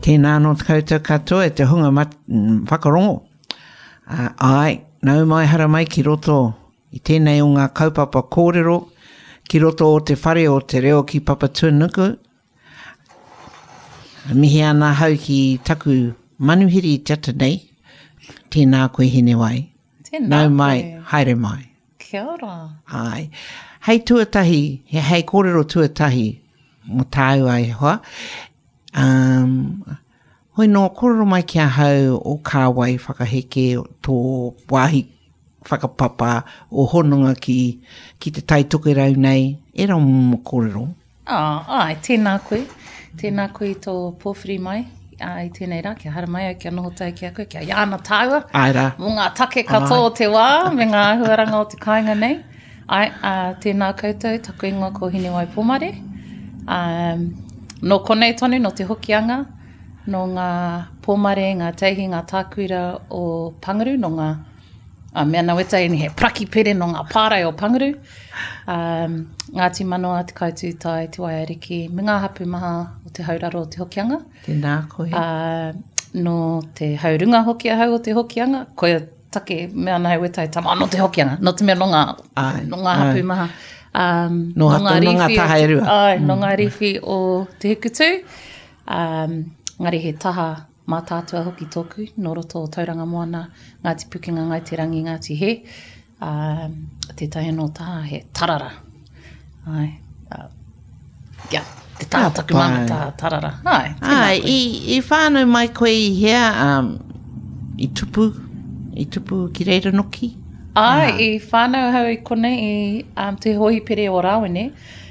Tēnā anō te koutou katoa e te hunga mat, whakarongo. Uh, āe, nau mai haramai ki roto i tēnei o ngā kaupapa kōrero, ki roto o te whare o te reo ki Papatuanuku. Mihi ana ahau ki taku manuhiri i te ata nei. Tēnā koe Hinewai. Tēnā Nau mai, koe. haere mai. Kia ora. Āe. Hei tuatahi, hei kōrero tuatahi mō tāua e hoa, um, hoi nō kōrero mai ki ahau o kāwai whakaheke, tō wāhi whakapapa, o hononga ki, ki te Tai Tokerau nei, ērā momo kōrero. Ā, āe, tēnā koe. Tēnā koe i tō pōwhiri mai ā, i tēnei rā, kia haramai au, kia noho tahi ki a koe, kia iāna tāua. Āe rā. Mō ngā take katoa o te wā me ngā āhuaranga o te kāinga nei. Āe, ā, tēnā koutou, taku ingoa ko Hinewai Pomare. Ā, nō konei tonu, nō Te Hokianga, nō ngā Pomare, ngā Teihi, ngā Tākuira o Panguru, nō ngā A mea na wetahi he parakipere no nga pārae o Panguru, um, Ngāti Manoa, Te Kaitūtai, Te Waiariki, me ngā hapu maha o te hauraro o Te Hokianga. Tēnā koe. Uh, no te haurunga hoki ahau o Te Hokianga, koia take mea ana hei wetahi tama no Te Hokianga, no te mea no ngā, ai, no ngā hapu maha. Um, no, no ngā rīwhi, taha e rua. Ai, no ngā rīwhi o Te Hikutū. Um, ngari he taha Mātaatua hoki tōku, nō roto o Tauranga Moana, Ngāti Pukenga, Ngāi Te Rangi, Ngāti Hē, ā, tētahi anō taha he tarara. Āe, ā, ia, te taha taku māmā taha tarara. Āe, tēnā koe. I, i whānau mai koe i hea, um, i tupu, i tupu ki reira noki? Āe, i whānau ahau i konei i um, te hōhipere o Rāwene,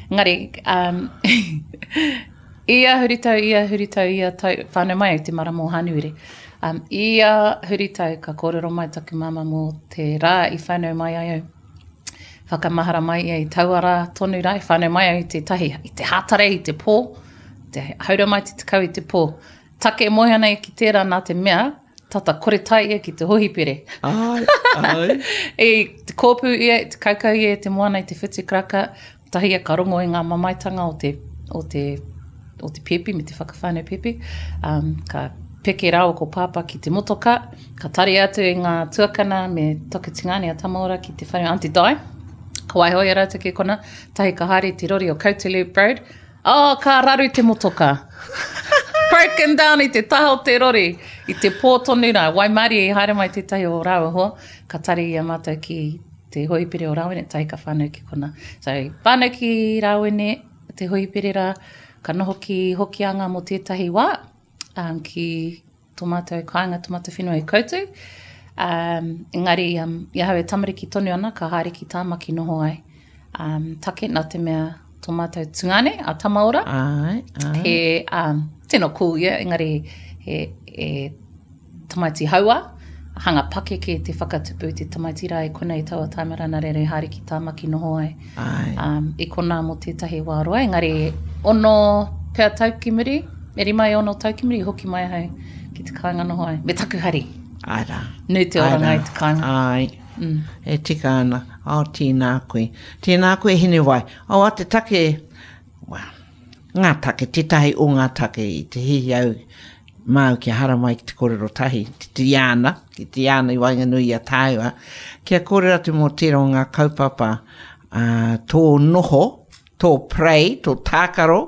engari, um, Ia huritau, ia huritau, ia tau, whānau mai au te marama o Hānuere. Um, ia huritau ka kōrero mai taku māmā mō te rā i whānau mai ai au. Whakamahara mai ia i taua rā tonu rā, i whānau mai au i te tahi, i te hātarei, i te pō, te haura mai te tekau i te pō. Take e moe ana ia ki tērā nā te mea, tata kore tae ia ki te hohipere. Ai, ai. I te kōpū ia, i te kaukau ia i te moana i te whitu karaka, Tahi ia ka rongo i ngā mamaetanga o te, o te, o te pēpi me te whakawhānau pēpi. Um, ka peke rāua ko Pāpā ki te motoka, ka tari atu i ngā tuakana me taku tingāne a Tamaora ki te whare Aunty Di. Ka waiho i a rātou ki kona, tahi ka haere i te rori o Kautulu Road. Oh, ka raru te motoka. Broken down i te taha o te rori, i te pō tonu rā. Waimarie i haere mai tētahi o rāua hoa, ka tari i a mātou ki te hoipere o Rāwene, tahi ka whānau ki kona. So, whānau ki Rāwene, te hoipere rā, ka noho ki Hokianga mō tētahi wā, um, ki tō mātou kāinga, tō mātou whenua i Koutu. Um, engari, um, i ahau e tamariki tonu ana, ka haere ki Tāmaki noho ai. Um, take nā te mea tō mātou tungāne, a Tamaora. Ai, ai. He, um, tino cool ia, engari he, he tamaiti hauā, hanga pakeke te whakatupu i te tamaiti rā i konei taua taima rā, nā reira i haere ki Tāmaki noho ai. Ai. Um, i konā mō tētahi wā roa, engari ono pea tau ki muri, e rima e ono tau ki muri, i hoki mai ahau ki te kāinga noho ai, me taku hari. Ai rā. Nui te oranga i te kāinga. Ai. Mm. E tika ana. Oh, tēnā koe. Tēnā koe, Hinewai. Oh, a te take, well, ngā take, tētahi o ngā take i te hihi au māu kia haramai ki te kōrero tahi, ki te iāna, ki te iāna i waenganui i a tāua, kia kōrero atu mō tērā o ngā kaupapa ā, tō noho, tō prei, tō tākaro,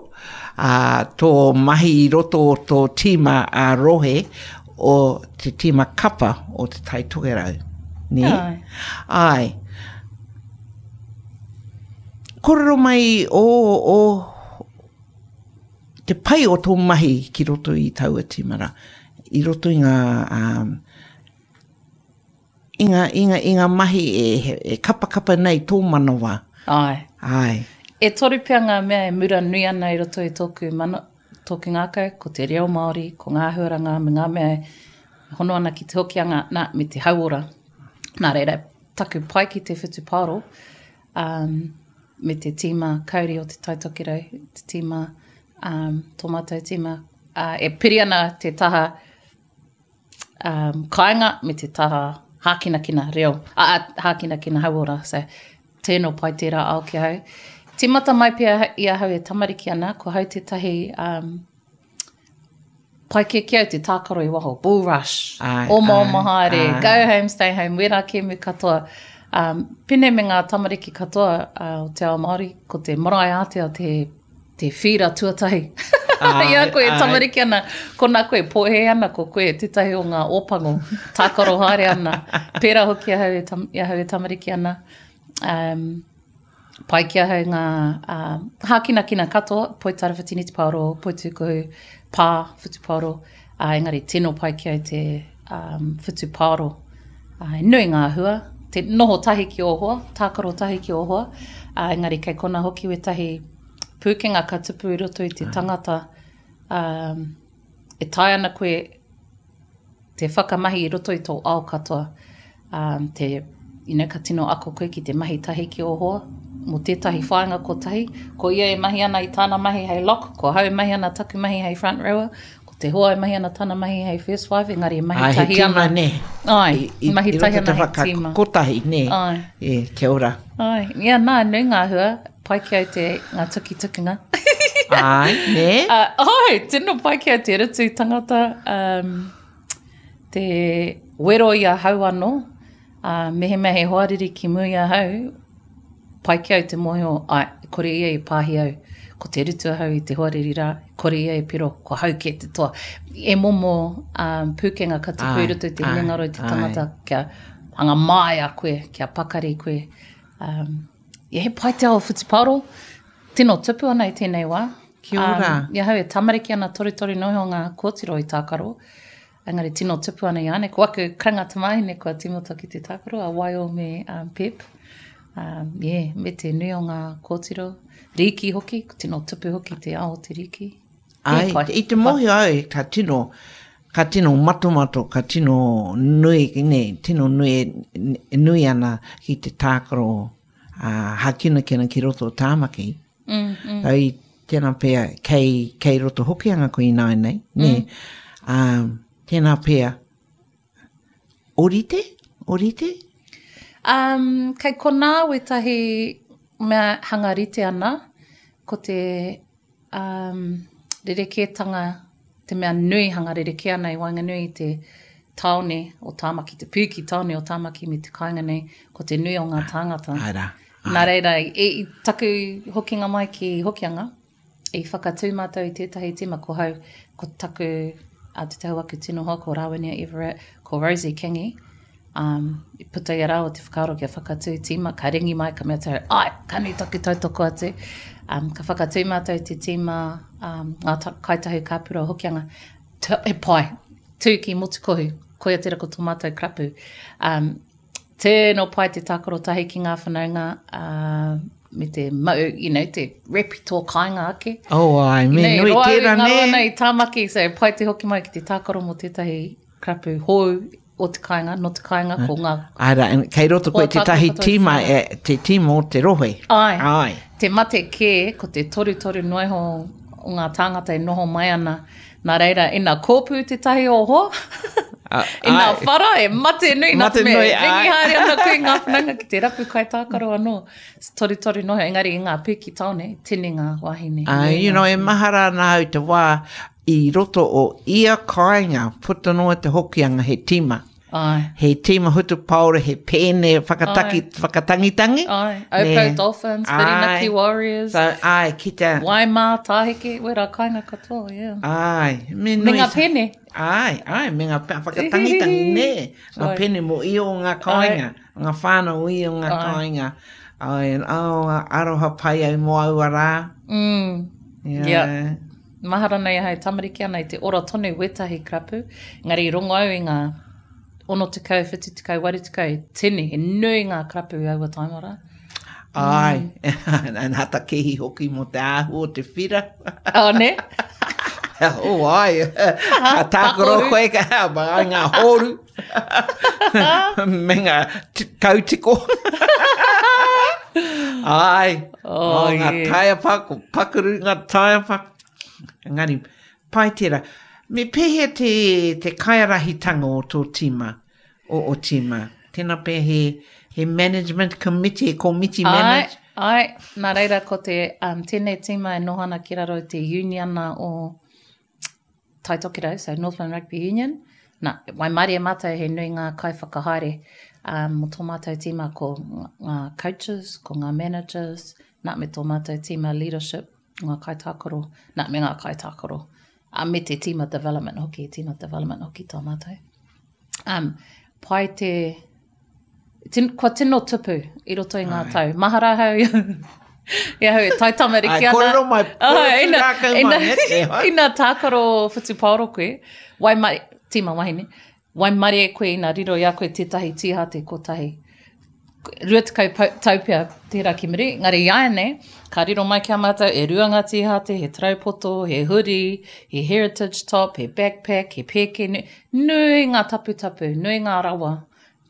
ā, tō mahi i roto o tō tīma ā-rohe o te tīma kapa o Te Tai Tokerau. Nē? Āe. Āe. Kōrero mai o, o, te pai o tō mahi ki roto i taua tīma rā, i roto i ngā, um, i ngā, i ngā, i ngā mahi e, e kapakapa nei tō manawa. Āe. Āe. E toru pea ngā mea e mura nui ana i roto i tōku mana, tōku ngākau, ko te reo Māori, ko ngā āhuaranga me ngā mea e hono ana ki te Hokianga, nā, me te hauora. Nā reira, taku pai ki te whutupaoro, um, me te tīma kauri o Te Tai Tokerau, te tīma, um, tō mātou tīma, uh, e piri ana te taha um, kāinga me te taha hākinakina reo, a, a, hākinakina hauora. So, tēnō pai tērā ao ki ahau. Tīmata mai pea i ahau e tamariki ana, ko hau tētahi um, Pai kē ki au te tākaro i waho, bull rush, omaoma haere, go home, stay home, wērā kēmu katoa. Um, pēnei me ngā tamariki katoa uh, o te ao Māori, ko te marae ātea te, te whīra tuatahi. I a koe e tamariki ana, kona koe pōhē ana, ko koe tētahi o ngā ōpango, tākaro haere ana. Pērā hoki ahau e, tam, i ahau e tamariki ana. Um, Pai ki ahau ngā hākinakina katoa, poitarawhiti, netipaoro, poitūkohu, pā, whutupaoro, ā, engari tino pai ki au te um, whutupaoro. Ā, he nui ngā hua, te noho tahi ki ō hoa, tākaro tahi ki ō hoa, ā, engari kei kona hoki wētahi pūkenga ka tupu i roto i te tangata, ā, e taea ana koe te whakamahi i roto i tō ao katoa, um, te, you know, ka tino ako koe ki te mahi tahi ki ō hoa, mō tētahi whāinga kotahi, ko ia e mahi ana i tāna mahi hei lock, ko ahau e mahi ana taku mahi hei front rower, ko te hoa e mahi ana tana mahi hei first five, engari e mahi Ai, tahi ana. Ai, he tīma, nē. Ai, I, i, mahi tahi ana hei tīma. Kotahi, nē. Ai. E, kia ora. Ai, ia nā, nui ngā hua, pai ki au te ngā tukitukinga. Ai, nē? Uh, ai, tino pai ki au te rutu tangata, um, te wero i ahau anō, uh, mehemea he hoariri ki mua i ahau, pai ki au te mōhio, ai, kore ia i pāhi au, ko te rutu ahau i te hoariri rā, kore ia i piro, ko hau kē te toa. E momo um, pūkenga ka tupu i roto i te hinengaro i te tangata, kia hanga māia koe, kia pakari koe. Um, yeah, he pai te ao whutupaoro, tino tupu ana i tēnei wā. Kia ora. Um, I ahau e tamariki ana torutoru noa iho ngā kōtiro i tākaro, engari tino tupu ana i āne. Ko aku karanga tamāhine kua tīmata ki te tākaro, a Waio me um, Pep. Um, yeah, me te nui o ngā kōtiro. Rīki hoki, tino tupu hoki te ao o te rīki. Ai, i te mōhio au, ka tino, ka tino matomato, ka tino nui, ne, tino nui, e nui ana ki te tākaro uh, hākinakina ki roto o Tāmaki. Mm, mm. Au i tēnā pea, kei, kei roto Hokianga koe ināianei, ne? Mm. Um, tēnā pea, orite? Orite? Um, kei konā wētahi mea hanga rite ana, ko te um, rerekētanga, te mea nui hanga rerekē ana i waenganui i te tāone o Tāmaki, te pūki tāone o Tāmaki me te kāinga nei, ko te nui o ngā tāngata. Ai rā. Ai. Nā reira, i, i taku hokinga mai ki Hokianga, i whakatū mātou i tētahi tīma ko hau, ko taku, a te tahu aku tino hoa, ko Rāwinia Everett, ko Rosie Kingi, Um, i puta i a rāua te whakaaro kia whakatū tīma, ka ringi mai, ka mea atu au, ai, ka nui taku tautoko atu. Um, ka whakatū mātou te tīma, um, ngā ta, kaitahu kāpura o Hokianga, he pai, tū ki Motukohu, koia tērā ko tō mātou karapu. Um, tēno pai te tākaro tahi ki ngā whanaunga, uh, me te mau, you know, te rep i tō kāinga ake. Oh, ai, me you know, nui tērā nē. Roa nei i Tāmaki, so pai te hoki mai ki te tākaro mō tētahi karapu hou o te kāinga, nō te kāinga, ko ngā... Āe rā, kei roto koe tētahi tīma, e, te tīma o te rohe. Āe. Āe. Te mate kē, ko te torutoru noa iho o ngā tāngata e noho mai ana. Nā reira, ina kōpū tētahi o hoa, ina whara, e mate nui, nā te mea, e ringi haere ana koe i ngā whanaunga ki te rapu kaitākaro anō. Torutoru noa iho, engari i ngā pīki tāone, tini ngā wāhine. Āe, you know, e mahara ana au te wā I roto o ia kāinga, puta noa te Hokianga, he tīma. Āe. He tīma hutupaoro, he pēne whakataki, Āe. whakatangitangi. Āe. Oupau Dolphins, Whirinaki Warriors. So, āe, ki te... Waimā, Tāheke, wērā kāinga katoa, yeah. Āe. Me, nui, me ngā pēne. Āe, āe, me ngā whakatangitangi, nē. Ngā pēne mō ia o ngā kāinga. Āe. Ngā whānau o ia o ngā kāinga. Āe, oh, aroha pai au mō aua rā. Mm. Yeah. Yeah. Mahara nei ahau tamariki ana i te ora tonu wētahi karapu, engari i rongo au i ngā 60, 70, 80, he tini, he nui ngā karapu i aua taima rā. Āe, mm. nā ta kehi hoki mō te āhua o te whira. Oh, ne? oh, ai. Ka tākaro koe, ka ai ngā hōru. Me ngā kautiko. Ai, oh, oh, ngā yeah. taiapa, ko pakuru ngā taiapa. Engari, pai tērā. Me pēhea te, te kaiarahitanga o tō tīma, o o tīma? Tēnā pea he, he management committee, he komiti manage? Ai, ai, nā reira ko te, um, tēnei tīma e noho ana ki raro i te uniana o... Tai Tokerau, so Northland Rugby Union. Nā, waimarie mātou he nui ngā kaiwhakahaere um, mō tō mātou tīma ko ngā coaches, ko ngā managers, nā, me tō mātou tīma leadership, ngā kaitākaro, nā, me ngā kaitākaro. Uh, me te tīma development hoki, tīma development hoki tō mātou. Um, pai te, tin, kua tino tupu i roto i ngā tau. Mahara ahau i ahau e tai tamariki ana. Ai, kōrero mai, kōrero ina, rākau mai, ina, e hai. Ina tākaro whutupaoro koe, waimari, tīma wahine, waimarie koe ina riro i a koe tētahi tīhate kotahi. 20 tau pea tērā ki muri, engari i āianei, ka riro mai ki a mātou e rua ngā tīhate, he taraupoto, he huri, he heritage top, he backpack, he pēke, nui ngā taputapu, nui ngā rawa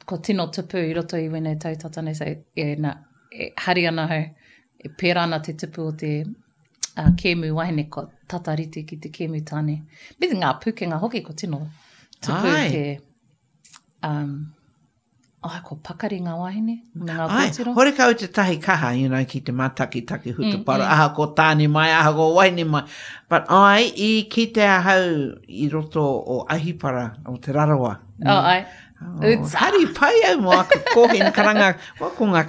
Kua tino tupu i roto i wēnei tau tata nei, so, e, na, e hari ana ahau, e pērā ana te tupu o te uh, kēmu wahine, kua tata rite ki te kēmu tāne. Me ngā pūkenga hoki, kua tino tupu Ai. te, um, ai, kua pakari ngā wāhine, me ngā kōtiro. Ai, horekau te tahi kaha, you know, ki te mātakitaki hutuparo, mm, mm. ahako tāne mai, ahako wahine mai. But ai, i kite ahau i roto o Ahipara, o Te Rarawa. Mm. Oh, ai. Oh, hari pai au mō aku kōhine karanga, well, ko ngā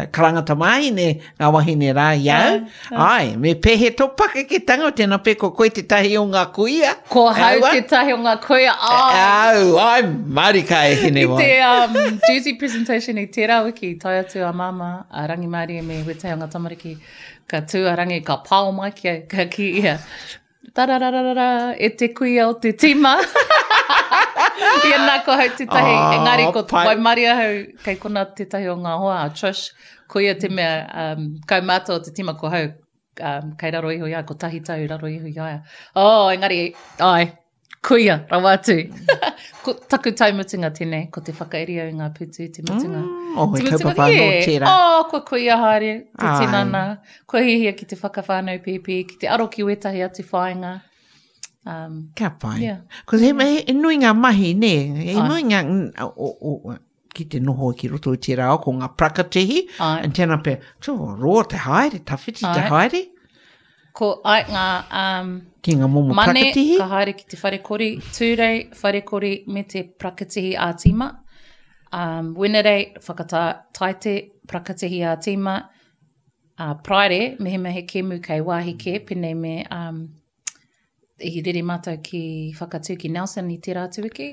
karanga tamāhine, ngā wahine rā i au. Ai, me pēhea tō pakeketanga, tēnā pē ko koe tētahi o ngā kuia. Ko hau tētahi o ngā kuia, ai. Au, ai, marika e hine wai. I te um, jersey presentation i tērā wiki, tae atu a māmā, a Rangimārie me wētahi o ngā tamariki, ka tū a Rangi, ka pao mai ki au, ka kī ia, Tarararara, e te kuia o te tīma. Ia nā, ko hau tētahi, oh, engari ko waimarie ahau, kei kona tētahi o ngā hoa, a Trish, ko ia te mea um, kaumātua o te tīma, ko hau, um, kei raro iho i a, ko tahi tau raro iho i a ia. Oh, engari, ai, kuia, rawa atu. ko taku tau mutunga tēnei, ko te whakairi au i ngā pūtu i te mutunga. Mm, oh, he kaupapa anō tērā. Oh, kua kuia haere te tinana. Kua hiahia ki te whakawhānau pēpi, ki te aro ki wētahi atu whāinga. Um, Kia pai. Yeah. Ko he, he, he nui ngā mahi, nē? He nui ngā, o, o, ki te noho ki roto i tērā ao, ko ngā prakatihi, and tēnā pea, tō, roa te haere, tawhiti te haere. Ko ai ngā um, ki ngā momo mane, prakatihi. ka haere ki te whare kori, Tūrei, whare kori me te prakatihi ā-tīma. Um, Wenerei, whakatā, taite, prakatihi ā-tīma. Uh, Paraire, mehemea he kēmu kei wāhi kē, pēnei me um, i rere mātou ki Whakatū ki Nelson i tērā atu wiki,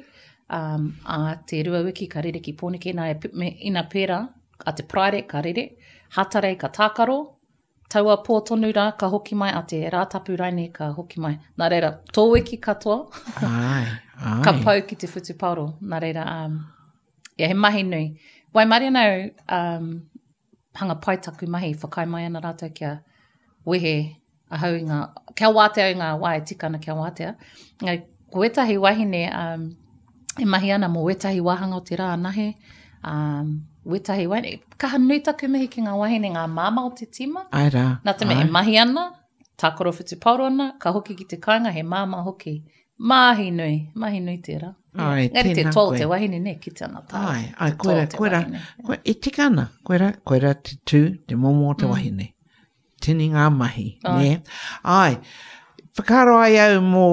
um, a te rua wiki ka rere ki Pōneke, nā, e, me, ina pērā, a te Paraire ka rere, Hatarei ka tākaro, taua pō tonu rā ka hoki mai, a te Rātapu raine ka hoki mai. Nā reira, tō wiki katoa, ai, ai. ka pau ki te whutupaoro. Nā reira, um, yeah, he mahi nui. Waimarie ana au, um, hanga pai taku mahi, whakaae mai ana rātou kia wehe ahau i ngā, kia wātea i ngā wā e tika ana kia wātea. Engari, ko wētahi wahine um, e mahi ana mō wētahi wāhanga o te rā anahe, um, wētahi wahine, kaha nui taku mihi ki ngā wahine, ngā māmā o te tīma. Ai rā. Nā te mea e mahi ana, tākaro whutupaoro ana, ka hoki ki te kāinga, he māmā hoki. Mahi nui, mahi nui tērā. Ai, Engari te toa o te wahine, ne, kite ana tā. Ai, ai, koera, koera, koera, e tika ana, koera, koera te tū, te momo o te mm. wahine. Tini ngā mahi, ai. ne? Ai, whakaaro ai au mō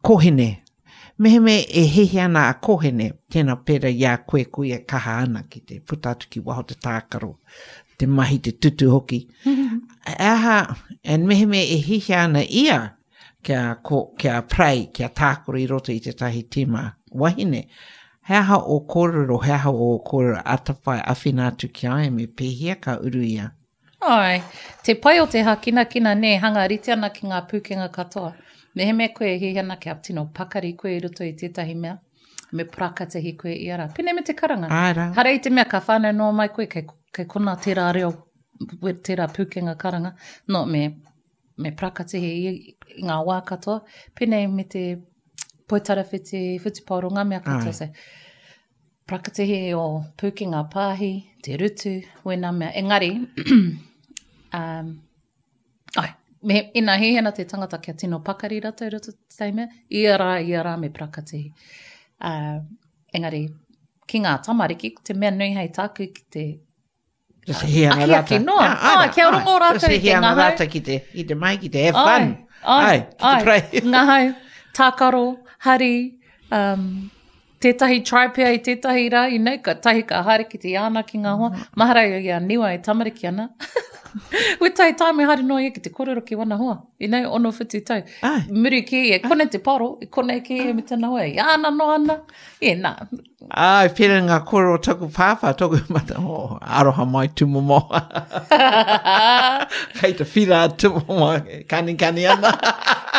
kōhine. Mehemea e hihi ana a kōhine, tēnā pērā i a koe, ko ia kaha ana ki te puta atu ki waho te tākaro, te mahi, te tutu hoki. E aha, and mehemea e hihi ana ia, kia, ko, kia pray, kia tākaro i roto i tētahi tīma wahine. He aha ō kōrero, he aha ō kōrero atawhai awhina atu ki a ia me pēhea ka uru ia? Āe, te pai o te hākinakina nē, hanga rite ana ki ngā pūkenga katoa. Mehemea koe e hiahia ana kia tino pakari koe i roto i tētahi mea, me parakatihi koe ia rā. Pēnei me te karanga. Āe rā. Hara i te mea ka whānau noa mai koe kei, kei konā tērā reo, tērā pūkenga karanga. No, me me parakatihi i, i ngā wā katoa, pēnei me te poitarawhiti, whutupaoro, ngā mea katoa. So, parakatihi o pūkenga pāhi, te rutu, wēnā mea. Engari, um, ai, me, ina hiahia ana te tangata kia tino pakari ratou i roto te mea, ia rā, ia rā me parakatihi. Uh, engari, ki ngā tamariki, ko te mea nui hei tāku ki te Akiaki noa. Ah, ah, kia rongo rātou i te ngahau. Rātou ki te, ki te mai, ki te have fun. Ai, ki te pray. Ngahau. Tākaro, hari, um, tētahi try pea i tētahi rā, you know, ka tahi ka haere ki te iāna ki ngā hoa. Mm. Mahara i a Niwa e tamariki ana. Wētahi time e haere noa ia ki te kōrero ki wana hoa, you know, ono whitu tau. Ai. Muri ki ia, kone te paro, i kone ki ia me tana hoa, iāna noa ana. Ie, nā. Ai, pērā ngā kōrero o taku pāpā, tōku mata, oh, aroha mai tūmomo. Kei te whira tūmomo, kanikani ana.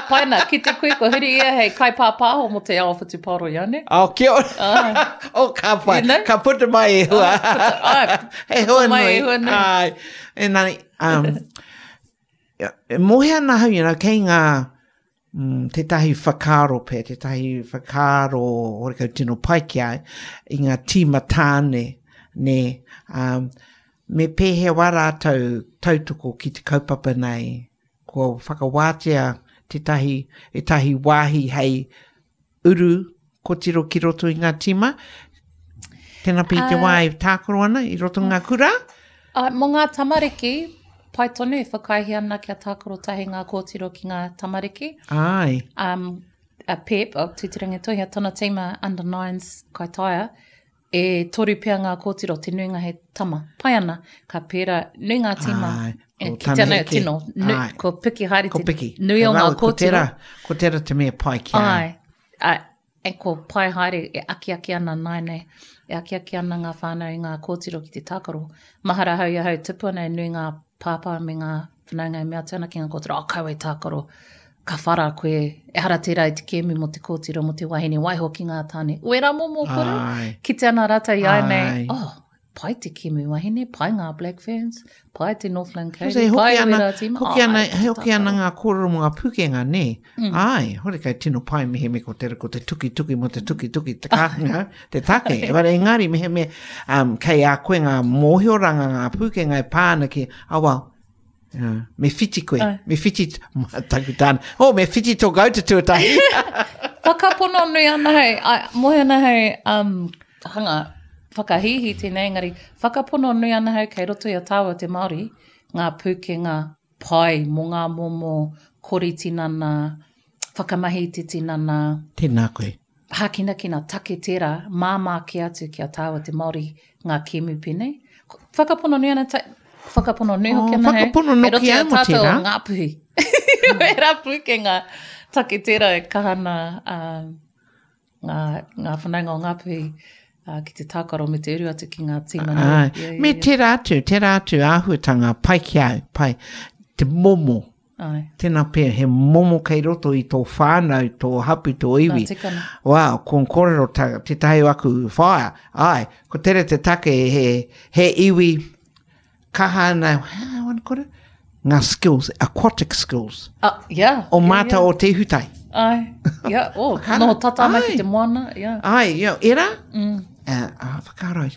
Pai nā, ki te koe ko huri ia hei kaipāpāho mō te ao whutupaoro iane. Oh, kia ora. Ai. Oh, ka pai. You know? Ka puta mai e hua. Oh, puta, ai, He hua puta mai nui. e hua nui. Ai. Engari, um, e mohe ana ahau, you know, kei ngā, mm, tētahi whakaaro pea, tētahi whakaaro horekau tino pai ki a au, i ngā tīma tāne, nē, um, me pēhea wā rātou tautoko ki te kaupapa nei, kua whakawātea tētahi, ētahi wāhi hei uru kotiro ki roto i ngā tīma, tēnā pea i te wā e tākaro ana i roto i ngā kura? Uh, mō ngā tamariki, pai tonu e whakaaehia ana kia tākaro tahi ngā kōtiro ki ngā tamariki. Ai. Um, a Pep, o Tūterangi Toihia, tana tīma under nines Kaitaia, e toru pea ngā kōtiro, te nuinga he tama. Pai ana, ka pērā, nui ngā tīma. Ai, E, ko ki te tana ana, heke. tino, nu, Ai. ko piki haere Ko te piki. nui o Ka ngā rawe, ko kōtiro. tērā, ko tērā te mea pai ki a. Ai, ai, e ko pai haere e akiaki ana nāianei, e akiaki ana ngā whānau i ngā kōtiro ki te tākaro. Mahara ahau i ahau tupu ana e nui ngā pāpā me ngā whanaunga e mea atu ana ki ngā kōtiro, oh, kaua e tākaro, ka whara koe, ehara tērā i te kēmu mō te kōtiro, mō te wahine, waiho ki ngā tāne. Wērā momo kore, kite ana rātou i āianei, oh, pai te kēmu wahine, pai ngā Black Ferns, pai te Northland Kauri, pai wērā tīma. Hoki ana, hoki ana ngā kōrero mō ngā pūkenga, nē? Mm. Ai, horekau tino pai mehemea ko te, ko te tukituki mō te tukituki, te kāhanga, te take. Ebara, engari, mehemea, um, kei a koe ngā mōhioranga, ngā pūkenga e pā ana ki, oh well, uh, me whiti koe, Ai. me whiti, taku tāna, oh, me whiti tō gauta tuatahi. Whakapono nui ana hei, ai, moe ana hei, um, hanga whakahīhī tēnei, engari whakapono nui ana hau kei roto i a tāua te Māori, ngā pūkenga pai mō ngā momo kori tinana, whakamahi i te tinana. Tēnā koe. Hākinakina take tērā, māmā kē atu ki a tāua te Māori ngā kēmu pēnei. Whakapono nui ana, ta, whakapono nui hoki ana hei, whakapono kei roto noki i a au mō tātou tērā. o Ngāpuhi. Wērā pūkenga take tērā e kaha ana uh, ngā, ngā whanaunga o Ngāpuhi uh, ki te tākaro me te uru atu ki ngā tīma nui. Ai, Yeah, yeah, me yeah. tērā atu, tērā atu āhuatanga pai ki au, pai, te momo. Ai. Tēnā pea, he momo kei roto i tō whānau, tō hapu, tō iwi. Nā, tikana. Wow, ko kōrero ta, tētahi o aku whaea, ai, ko tere te take he, he iwi kaha ana, how I wanna put it? Ngā skills, aquatic skills. Uh, yeah. O yeah, mātou yeah. o Te Ihutai. Ai, yeah, oh, Whakaaro. noho tata ana ki Ai. te moana, yeah. Ai, you know, era? Mm. Uh, uh, whakaaro,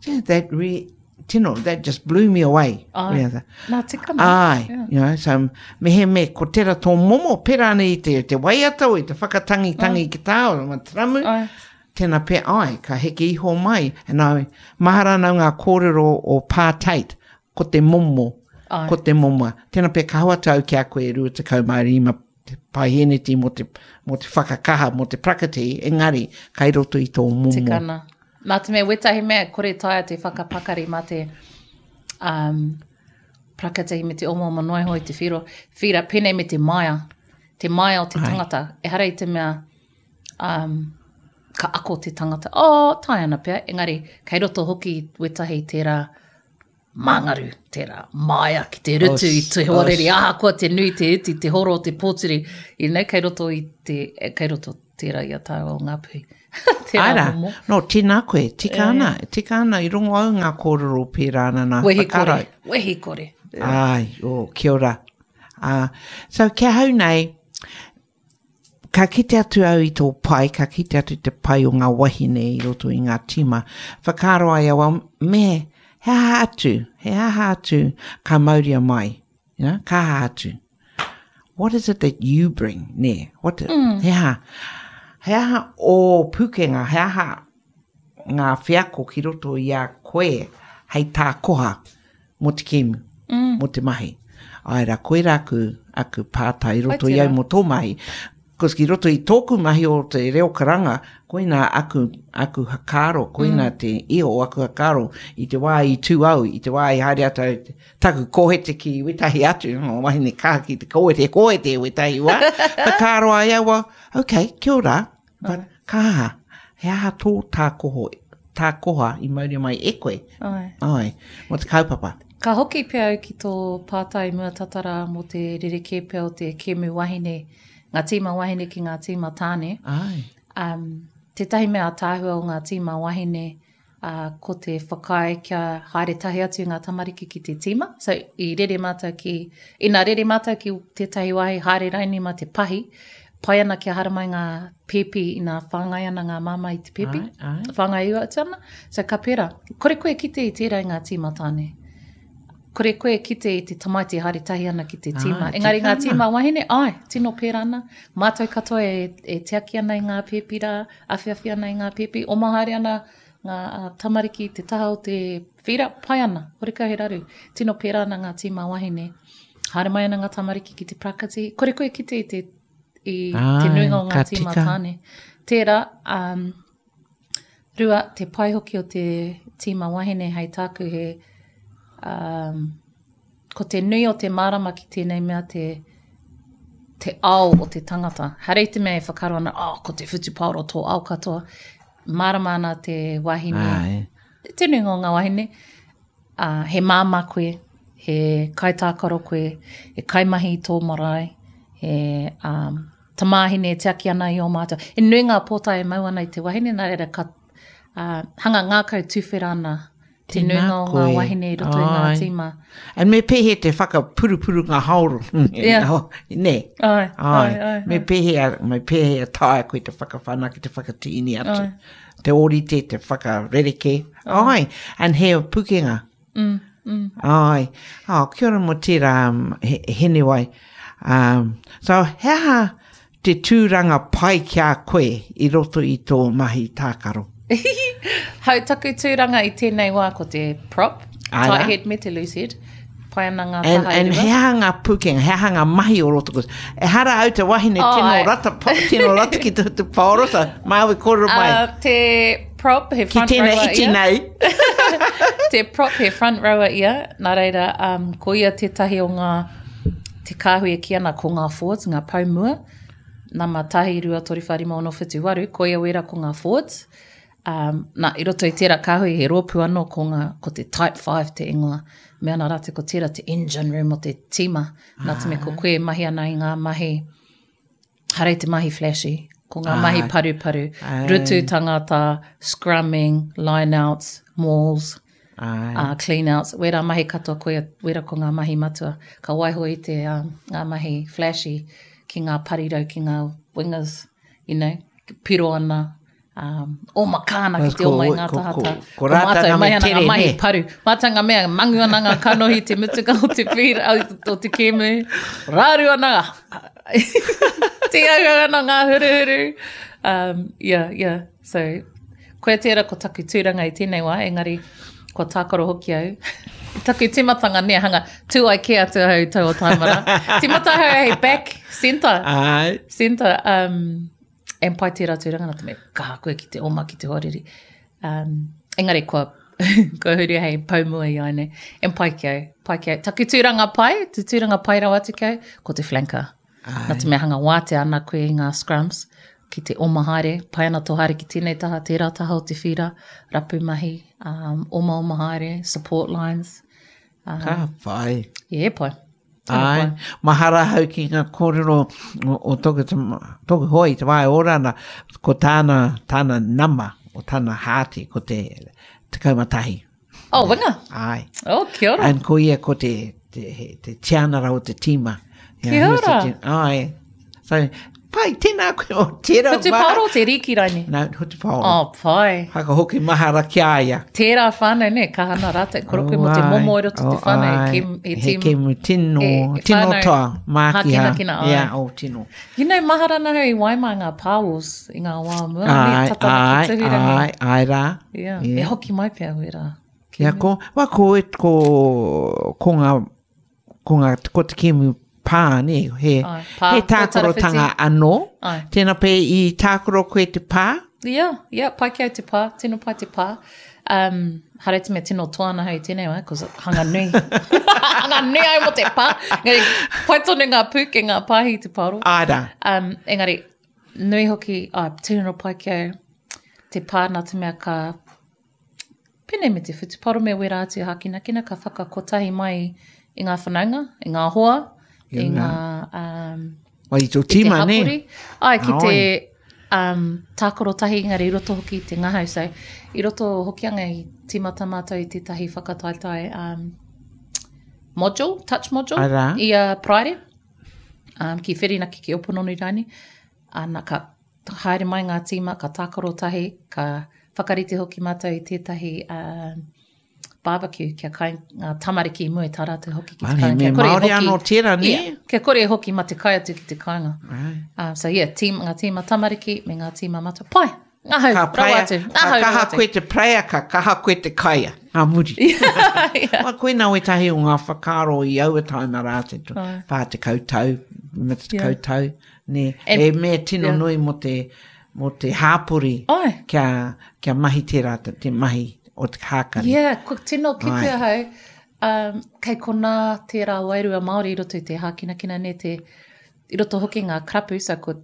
yeah, that re, tino, that just blew me away. Ai. Yeah. Nā tikana. Ai, Yeah. you know, so me he me ko tera tō momo, pera ana i te, te waiata o i te whakatangi tangi ki tā o ma taramu, Ai. tēnā pea ai, ka heke iho mai. And I, mahara ana ngā kōrero o Pā Tate, ko te momo, Ai. ko te momo. Tēnā pea ka hoatu au ki a koe 25 paihēneti mō te, mō te whakakaha, mō te prakati, engari, kai roto i tō momo. Tikana. Nā te mea, wetahi mea, kore taea te whakapakari mā te um, prakati me te omaoma noa iho i te whiro. Whira, pēnei me te maia. Te maia o te tangata. Ehara i te mea, um, ka ako te tangata, oh, tae ana pea, engari, kei roto hoki wetahi tērā māngaru, tērā māia ki te rutu i te hoariri, ahakoa te nui, te iti, te horo, te pōturi, you know, kei roto i te, kei roto tērā i a tāua o Ngāpuhi. Tērā Āra, momo. no, tēnā koe, tika ana, tika ana, i rongo au ngā kōrero pērā ana nā Wehi kore, whakarau. wehi kore. Ai, oh, kia ora. Uh, so, ki ahau nei, Ka kite atu au i tō pai, ka kite atu te pai o ngā wahine i roto i ngā tīma. Whakaaro ai au, well, me, he aha atu, he aha atu ka mauria mai, you know, ka aha atu. What is it that you bring, nē? What, mm. he aha, he aha ō pūkenga, he aha ngā wheako ki roto i a koe hei tā koha mō te kēmu, mm. mō te mahi. Āe rā, koirā aku, aku pātai i roto i au mō tō mahi. Cos ki roto i tōku mahi o te reo karanga, koina aku, aku hakaaro, koina mm. te iho o aku hakaaro i te wā i tū au, i te wā i haere atu au, taku kōhete ki wetahi atu, o wahine kaha ki te kōhete, kōhete wetahi wā, whakaaro ai au, well, okay, kia ora, but ka aha, he aha tō tākoho, tākoha i mauria mai e koe? Ai. Ai, mō te kaupapa. Ka hoki pea au ki tō pātai mua tata rā mō te rerekē pea o te kēmu wahine, ngā tīma wahine ki ngā tīma tāne. Ai. Um, tētahi mea ātaahua o ngā tīma wahine, ā, ko te whakaae kia haere tahi atu ngā tamariki ki te tīma. So, i rere mātou ki, ina rere mātou ki tētahi wāhi, haere raini mā te pahi, pai ana kia haramai ngā pēpi ina whāngai ana ngā māmā i te pēpi, ai, ai. whāngai ua atu ana. So, ka pērā. Kore koe kite i tērā i ngā tīma tāne. Kore koe kite i te tamaiti haere tahi ana ki te tīma. Ai, Engari ngā tika tīma wahine, ai, tino pērā ana. Mātou katoa e, e tiaki ana i ngā pēpi rā, awhiawhi ana i ngā pēpi, oma haere ana ngā tamariki i te taha o te whīra, pai ana, horekau he raru. Tino pērā ana ngā tīma wahine. Haere mai ana ngā tamariki ki te prakati. Kore koe kite i te, i te nuinga o ngā tīma tāne. Tērā, um, rua, te pai hoki o te tīma wahine hei tāku he, um, Ko te nui o te mārama ki tēnei mea te, te ao o te tangata. Hare i te mea e whakaaro ana, oh, ko te whutupaoro tō ao katoa. Mārama ana te wahine, Ai. te nuinga o ngā wahine, uh, he māmā koe, he kaitākaro koe, he kaimahi i tō marae, he um, tamāhine e tiaki ana i ō mātou. He nui ngā pōtae e mau ana i te wahine, nā reira ka uh, hanga ngākau tuwhera ana Te nuinga o ngā wahine i roto i ngā tīma. And me pēhea te whakapurupuru ngā haoro. Yeah. Nē. Ai, ai, ai. Me pēhea, me pēhea taea koe te whakawhanake, te whakatīni atu. Ai. Te ōrite, te whakarerekē. Ai. And he pukenga. Mm, mm. Ai. Oh, kia ora mō tērā, um, he, Hinewai. Um, so, he aha Te tūranga pai ki a koe i roto i tō mahi tākaro. Hau taku tūranga i tēnei wā ko te prop, Āe rā. tight head me te loose head. Pai ana ngā And, taha e and rua. he aha ngā pūkenga, he aha ngā mahi o roto koe. Ehara au te wahine Oh, tino ai. rata, tino rata ki te, te paoro, so māu e kōrero mai. Uh, te prop, he ki front tēnei rower iti ia. nei. Te prop, he front rower ia. Nā reira, um, ko ia tētahi o ngā Te kāhui e kī ana ko ngā forwards, ngā pou mua, nama 1, 2, 3, 4, 5, 6, 7, 8, koia wera ko ngā forwards. Um, nā, i roto i tērā kāhui he rōpū anō ko, ngā, ko te Type 5 te ingoa. Me ana rātou ko tērā te engine room o te tīma. Nā te mea ko koe e mahi ana i ngā mahi, hara i te mahi flashy, ko ngā mahi paruparu, rutu tangata, scrumming, line-outs, mauls, uh, clean-outs, wērā mahi katoa koia, wērā ko ngā mahi matua. Ka waiho i te, um, ngā mahi flashy ki ngā parirau, ki ngā wingers, you know, piro ana, um, oma kāna ki te oma i ngā tahata. Ko, ko, ko rātou mai ana ngā mahi paru. Mātou ngā mea, mangu ana ngā kanohi te mutunga o te pīra, o te kēmu. Raru ana, tīauau ana ngā huruhuru. Um, yeah, yeah. So, koia tērā ko taku tūranga i tēnei wā, engari kua tākaro hoki au. Taku tīmatanga nē, hanga, tū ai kē atu ahau i taua taima rā. Tīmata ahau hei back centre. Ai. Centre, um, and pai tērā tūranga nā te mea, kaha koe ki te oma, ki te hoariri. Um, engari kua, kua huri hei pou mua i ai nei. And pai ki au, pai ki au. Taku tūranga pai, te tūranga pai rawa atu ki au, ko te flanker. Ai. Nā te mea hanga wātea ana koe i ngā scrums, ki te oma haere, pai ana tō haere ki tēnei taha, tērā taha o te whīra, rapu mahi, um, omaoma haere, support lines. Um, Ka whai. Yeah, pai. Ai, mahara ahau ki ngā kōrero o, o tōku, tōku hoa i te wā e ora ana, ko tāna, tāna nama, o tāna hāti, ko te 11. Oh, winga. Ai. Oh, kia ora. And ko ia ko te, te, te tianara o te tīma. Kia ora. Te, ai. So, pai, tēnā koe o tērā. Whutu paoro te rīki raini? No, whutu paoro. Oh, pai. Whakahoki mahara ki a ia. Tērā whānau, ne, kaha ana rātou. Koro koe mo te momo i roto te oh, whānau. Ai. He, he, kemu tino, e, tino toa, mākiha. Hākinakina, ai. Yeah, oh, tino. You know, mahara ana hau i waimā ngā pāwos i ngā wā mua. Ai, ai, ai, ai rā. Yeah. yeah. E hoki mai pea wērā. Kia ko, wa, ko, ko, ko ngā, ko ngā, ko te kēmu pā, nē, he, Ai, pā, he tākorotanga anō. Ai. Tēnā pē i tākoro koe te pā? Ia, ia, pai ki au te pā, tino pai te pā. Um, haere te mea tino toa ana hau i tēnei wā, cause hanga nui. hanga nui au mo te pā. Engari, pai tonu ngā pūke, ngā pāhi te pāro. Ai rā. Um, engari, nui hoki, ai, tino pai ki au te pā nā te mea ka Pēnei me te whutuparo me wērā atu hākinakina ka whakakotahi mai i ngā whanaunga, i ngā hoa, i ngā... Um, Wa i tō tīma, nē? Ai, ki te um, tākaro tahi engari i roto hoki i te ngahau. So, i roto Hokianga i tīmata mātou i tētahi whakataetae um, module, touch module, Arā. i a Paraire, um, ki Whirinaki, ki Opononi rānei. Ana, ka haere mai ngā tīma, ka tākaro tahi, ka whakarite hoki mātou i tētahi uh, barbecue kia kai ngā tamariki i mua i tā rātou hoki ki te kāinga. Kia kore Māori anō tērā, nē? Yeah, kia kore e hoki ma te kai atu ki te kāinga. Right. Um, so yeah, team, ngā tīma tamariki me ngā tīma matua. Pai! Ngahau, ka rawa atu. Ngahau, ka kaha koe te praea, ka kaha koe te kaia. Ngā muri. yeah. Well, koina wetahi o ngā whakaaro i aua taima rā te 40 tau, 50 yeah. tau. Nē, And, he mea tino yeah. nui mō te, mō te hāpori Ai. kia, kia mahi tērā te, te mahi o te hākari. Yeah, kua tino kite ahau, um, kei konā tērā wairua Māori i roto i te hākinakina, nē, te, i roto hoki ngā karapu, so ko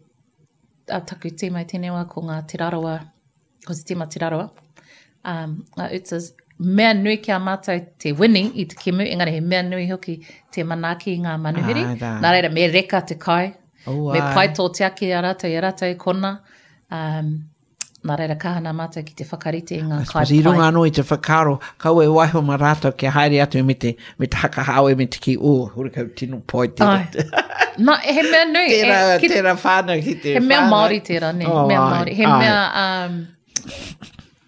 a, taku tīma i tēnei wā ko ngā Te Rarawa, ko te tīma Te Rarawa, um, ngā Utas, mea nui ki a mātou te wini i te kemu, engari he mea nui hoki te manaaki i ngā manuhiri. Ai rā. Nā reira, me reka te kai, Oh, me ai. pai tō tiaki i a rātou, i a rātou i kona. Um, nā reira, kaha nā mātou ki te whakarite i ngā I kai suppose i runga pai. anō i te whakaaro, kaua e waiho mā rātou kia haere atu me te, me te hakahāwe me te kī, oh, horekau tino pai tērā. Ai. Nā, he mea nui. Tērā, e, ki, tērā whānau ki te He mea whānau. Māori tērā, nē. Oh, mea ai, Māori. He ai. mea um,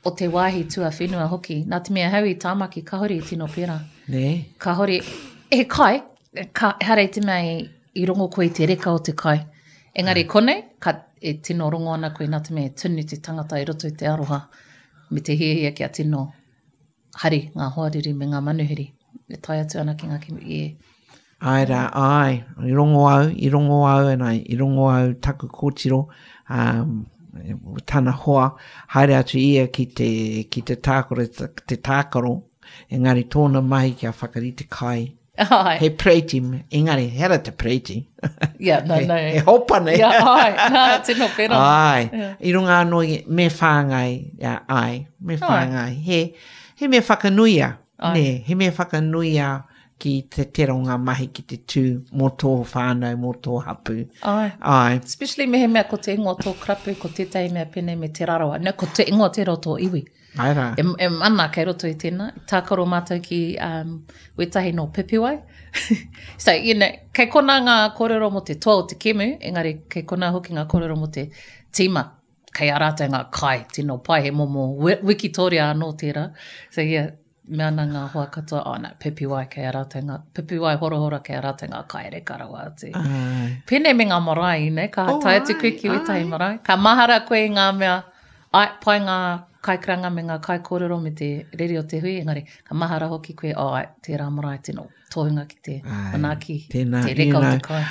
o te wāhi tuawhenua hoki. Nā te mea hau i Tāmaki, kāore i tino pērā. Nē. Kāore, he kai, ka, ehara i te mea i, i rongo koe i te reka o te kai. Engari konei, ka, e tino rongo ana koe nā te mea e tunu te tangata i roto i te aroha me te hiahia kia tino hari ngā hoariri me ngā manuhiri e tae atu ana ki ngā kimi. Yeah. Āe rā, āe, i rongo au, i rongo au, and I, i rongo au taku kōtiro, um, tana hoa, haere atu ia ki te, ki te tākaro, te tākaro, engari tōna mahi kia whakarite kai. Ai. He pereiti, engari, he ara te pereiti. Yeah, no, he, no. He hopa nei. Yeah, ai, nā, tino pera. Ai, Yeah. i runga anō i, me whāngai, yeah, ai, me whāngai. He, he mea whakanuia, Ai. nē, he mea whakanuia ki te tera o ngā mahi ki te tū mō tō whānau, mō tō hapū. Ai. Ai. Especially mehemea ko te ingoa tō karapu, ko tētahi mea pēnei me Te Rarawa. No, ko te ingoa tērā o tō iwi. Ai rā. E, e mana kei roto i tēnā. Tākaro mātou ki um, wētahi nō Pipiwai. so, you know, kei konā ngā kōrero mō te toa o te kemu, engari kei konā hoki ngā kōrero mō te tīma. Kei a rātou ngā kai, tino pai, he momo wikitoria anō tērā. So, yeah, mea ana ngā hoa katoa, oh no, Pipiwai kei a rātou ngā, Pipiwai horohoro kei a rātou ngā kai reka rawa atu. Ai. Pēnei me ngā marae, you know, ka Oh, tae atu koe ai, ki wētahi ai. marae. Ka mahara koe i ngā mea, ai, pai ngā kaikaranga me ngā kaikōrero me te rere o te hui, engari ka mahara hoki koe, oh, ai, tērā marae tino tohunga ki te Ai, manaaki, tēnā, te reka you o te know, kai.